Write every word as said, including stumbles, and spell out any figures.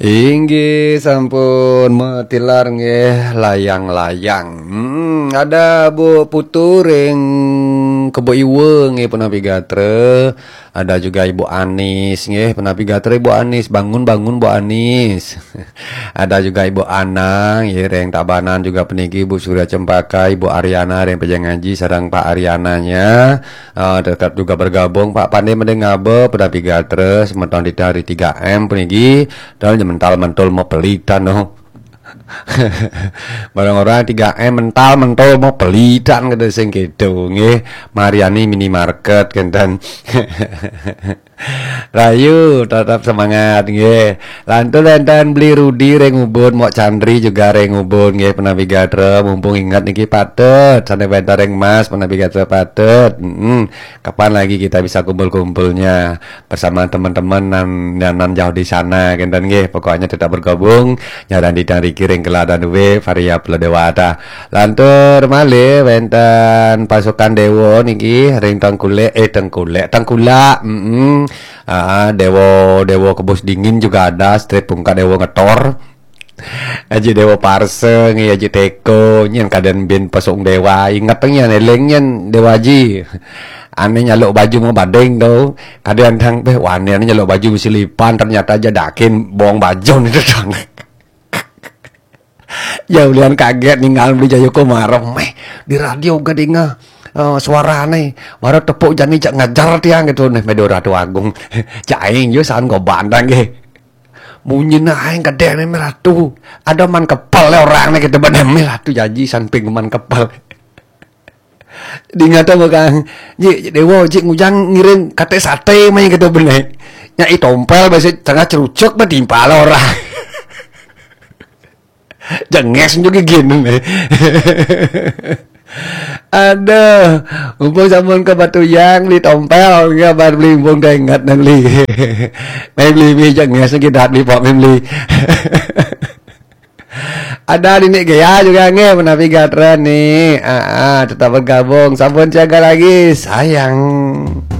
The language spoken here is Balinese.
Inggih sampun matilar nggih layang-layang. Hmm, ada Bu Putu ring Kebo Iwa nggih punapi gatra. Ada juga Ibu Anis nggih punapi gatra Ibu Anis. Bangun, bangun Bu Anis. Ada juga Ibu Anang nggih ring Tabanan juga puniki Bu Surya Cempaka, Ibu Ariana ring Pejeng Aji sareng Pak Ariananya. Ah, tetap juga bergabung Pak Pande Mendengaba punapi gatra semeton titah ring tiga M puniki. Dal mental mentul mau pelitan no. Barang orang tiga M mental mentul mau pelitan kata sing gitu nggih. Mariani minimarket kenten. Rayu tetap semangat nggih. Lantur enten Beli Rudi ring Ubud, Mok Chandri juga ring Ubud nggih punapi gatra. Mumpung ingat niki patut, sane wenten ring Mas punapi gatra patut. Mm-mm. Kapan lagi kita bisa kumpul-kumpulnya bersama teman-teman nan, nan, nan jauh di sana kenten nggih. Pokoknya tetap bergabung. Nyaran di tang riki ring keladan duwe variabel dewata. Lantur malih wenten pasukan dewa niki ring Tengkulek, eh Tengkulek, Tengkulak. Mm-mm. Ah, dewa, dewa kebus dingin juga ada, strip pungka dewa ngetor. Aji Dewa Parsa nggih, Aji Teko nyen kaden bin pesung dewa, inget nyen eling nyen Dewa Aji. Ane nyaluk baju mau bading tu. Kaden tang beh wani ane nyaluk baju mesti lipan, ternyata aja dakin bong baju ni tu tang. Ya ulian kaget ningal Beli Jayo Kumara meh di radio gadinga. Uh, suarane baru tepuk jani cak ngajar tiang gitu neh medo Ratu Agung. Cak aing yo san go bandang ge. Munyi na aing gede meh Ratu. Ada man kepel le orang ne gitu bener meh Ratu janji samping man kepel. Dingata mah Kang. Ji Dewa ji ngujang ngiring kate sate mah gitu bener. Nyai tompel besi tengah cerucuk mah timpal orang. Jenges juga gini nih. Aduh, mumpung sampun ke Batu Yang di tompel ya bar beli mumpung teh ingat nang li. Mai beli mi jenges kita di pok beli. Ada di Nik Gea juga nggih menawi gatra nih. Ah, ah, tetap bergabung. Sampun siaga lagi, sayang.